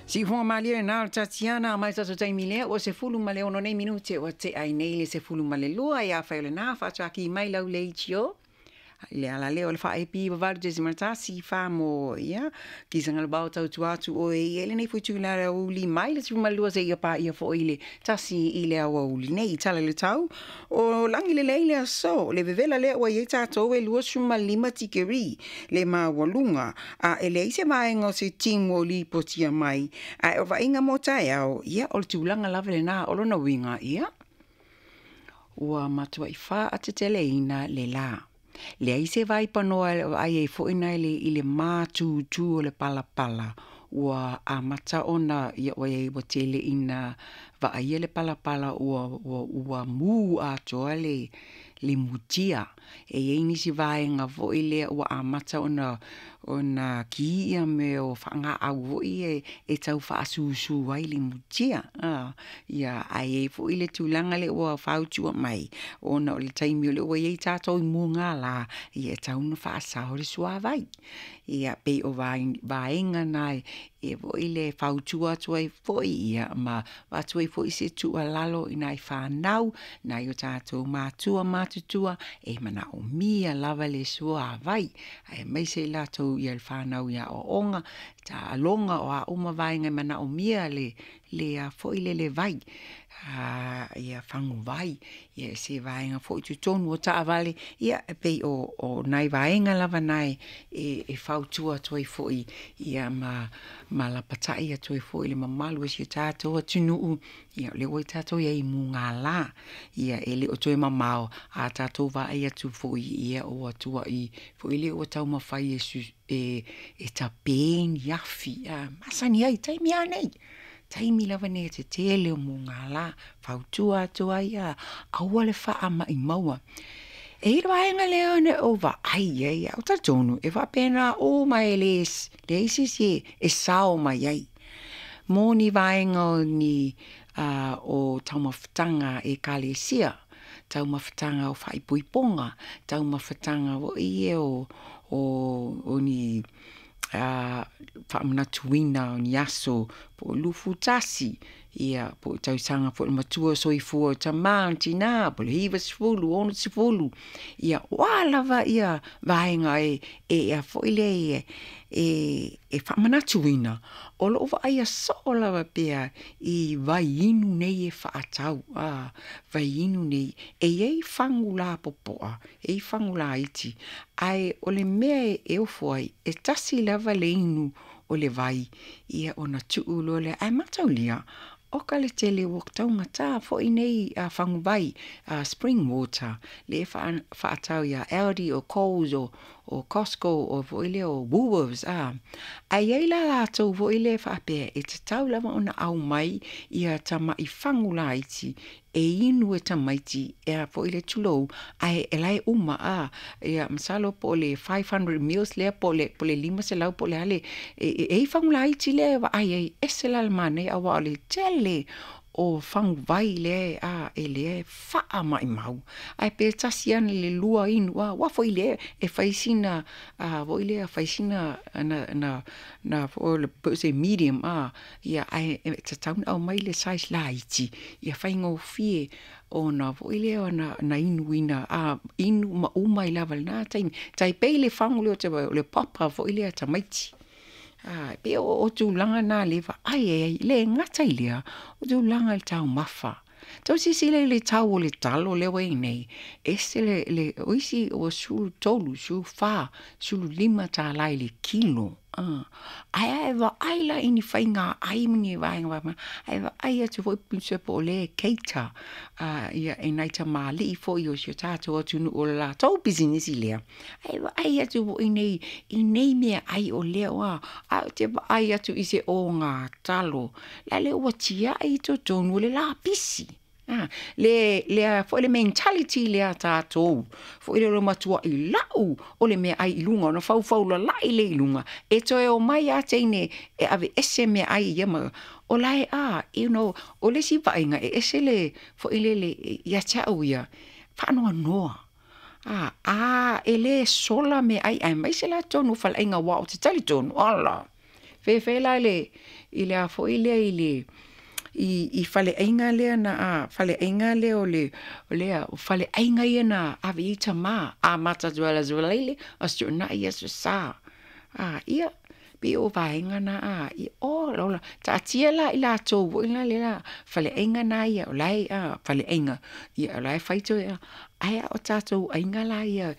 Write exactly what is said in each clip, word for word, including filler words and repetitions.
Siufoga malie lena o le Tatiana mai tatou taimi lea ua sefulu ma le ono nei minute ua tea ai nei le sefulu ma le lua ia afai o lena faatuaki mai lau leitio i le ala lea o le faa-ep valu tesima tasi fa mo ia kisaga le bao tautua atu oe i lenei foi itula i le aoauli mai le sefulu ma le lua seia paia foi le tasi i le aoauli nei i tala i le tau o lagi lelei le aso le vevela lea ua i ai tatou e luasefulu ma lima tikeri le maualuga a e leai se vaega o se timu o lipotia mai ae o vaaiga mo taeao ia o le tulaga lava lena o lona uiga ia ua matuai faateteleina le lā. Leai se vaipanoa e vaai ai foi na i le matutu o le palapala ua amata ona ia ua iai ua tele ina vaaia le palapala ua ua ua mu atoa le le mutia. E iai nisi vaega foi lea ua amata ona ona ki ia mea o faagaau foi e e tau faasusu ai le mutia. A ia ae i ai foi le tulaga lea ua fautua mai ona o le taimi o lea ua iai tatou i mugala ia e tatau ona faasao le suavai. Ia pei o vaega na e foi le fautua atu ai foi ia ma avatu ai foi se tuualalo i nai fanau, nai o tatou matua matutua e manaomia lava le suavai aemaise i latou ia le fanau i aoaoga, taaloga o a uma vaega e manaomia le le a foi le le vai a ia faguvai ia se vaega foi i totonu o taavale ia e pei o o nai vaega lava na e e fautua atu ai foi ia ma ma lapatai atu ai foi i le mamalu o si o tatou atunuu ia o lea ua tatou i ai i mugala ia e le o toe mamao a tatou vaai atu foi ia ua tuai foi lea ua taumafai e su e e tape ni afi a masani ai taimi lava nei taimi lava nei e tetele o mugala fautua atu ai a aua le faamaumauina. E i ai le vaega lea na ou vaai i ai ae ou talitonu e faapena uma e le leai se isi e sao mai ai mo ni vaega o ni o taumafataga ekalesia, taumafataga o faaipoipoga, taumafataga foi ia o o o ni faamanatuina o ni aso po o lufutasi ia po o tausaga foi o le matua soifua o tama tina po o le iva sefulu, ono sefulu ia o a lava ia vaega e e a foi lea e e faamanatuina o loo vaaia soo lava pea i vaiinu nei e faatau a vaiinu nei e iai fagu lapopoa e iai fagu laiti ae o le mea e ofo ai e tasi lava le inu o le vai ia ona tuu loa lea ae mataulia oka le tele ua taugata foi nei a faguvai a spring water lea e faatau ia Aldi o Coles o o Costco o foi lea o Woolworths a ae iai la latou foi lea faapea e tatau lava ona aumai ia tamai fagu laiti e inu e tamaiti e a foi le tulou ae e la e uma a ia masalo po o le five hundred mils lea po o le po o le lima selau po o le a le e e i fagu laiti lea e vaai ai ese la le manaia aua o le tele o faguvai lea a e lea e faamaumau ae pe tasi lava le lua inu a aua foi lea e fai sina a foi lea fai sina na na na foi po o se medium a ia ae e tatau ona aumai le size laiti ia faigofie ona foi lea ona na inuina a inu ma uma ai lava i lena taimi tai pei le fagu lea o le papa foi lea a tamaiti a e pei o tulaga na lea e vaai ai le gata i lea o tulaga i le taumafa tau silasila i le tau o le talo lea ua i ai nei ese le le o isi ua sefulu tolu, sefulu fa, sefulu lima tala i le kilo a ae a e vaai la i ni faiga ai ma ni vaega faapena ae vaai atu foi po o lea e cater a ia e nai tamalii foi o si o tatou atunuu o le latou pisinisi lea ae vaai atu foi nei i nei meaai o lea ua ae ou te vaai atu i se ogatalo la le ua tiai i totonu o le lapisi a le lea foi le mentality lea a tatou foi lea o le matuai lau o le meaai i luga ona faufau lalai lea i luga e toe omai lava teine e aveese meaai ia ma o la e a you know o le isi vaaiga e ese le foi lele ia te au ia faanoanoa a a e le sola meaai aemaise la totonu o faleaiga aua ou te talitonu ala Fefe la le i le a foi lea i le i i faleaiga lea na a faleaiga lea o le o lea o faleaiga ia na ave i tamā amata atu lava i le Aso Faraile, Aso Toonai, Aso Sa. A ia pei o vaega na a ia o ola taatia la i latou foi la le la faleaiga na ia o la e a faleaiga ia o la e fai toe a ae a o tatou aiga la ia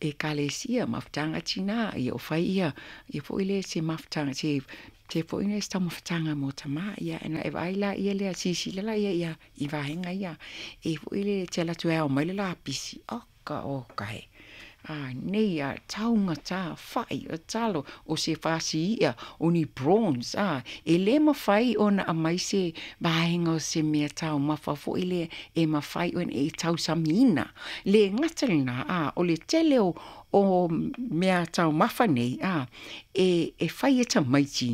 ekalesia mafutaga a tinā ia o fai ia ia foi le se mafutaga se se foi le se taumafataga mo tamā ia ona e vaai laia lea silasila laia ia i vaega ia e foi le te alu atu e ao mai le lapisi oka oka e a nei a taugata fa'i o talo o se fasi i'a o ni prawns a e lē mafai ona aumai se vaega o se mea taumafa foi lea e mafai ona e tausamiina le gata lena a o le tele o o mea taumafa nei a e e fai e tamaiti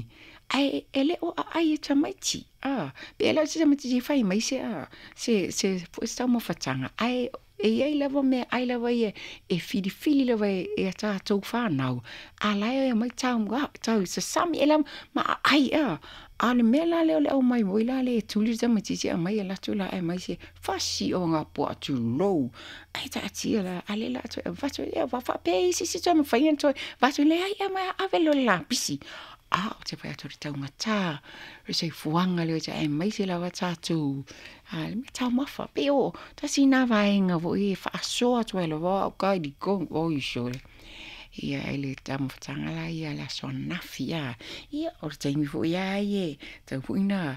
ae e le o aai e tamaiti a pe le o se tamaitiiti e fai mai se a se se foi se taumafataga ae e iai lava mea ai lava ia e filifili lava e e a tatou fanau a la e omai tau tau sasami e lava ma aai a a o le mea la lea o le aumai moi la le tuli le tamaitiiti aumai alu atu la aumai se fasi o gapua'a tulou ae taatia la a lea la toe avatu ia faapea isi se toe mafai ona toe avatu leai aumai ave loa le lapisi a ou te fai atu o le taugata o le soifuaga lea aemaise lava tatou a le mea taumafa pei o tasi lena vaega foi e faasoa atu ai lava au kai oi sole ia i le taumafataga la ia le aso ananafi a ia o le taimi foi a ia tau foi na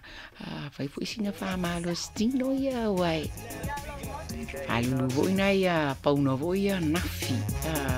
fai foi sina faamalositino ia ua e falulu foi na ia pauna foi ia nafi a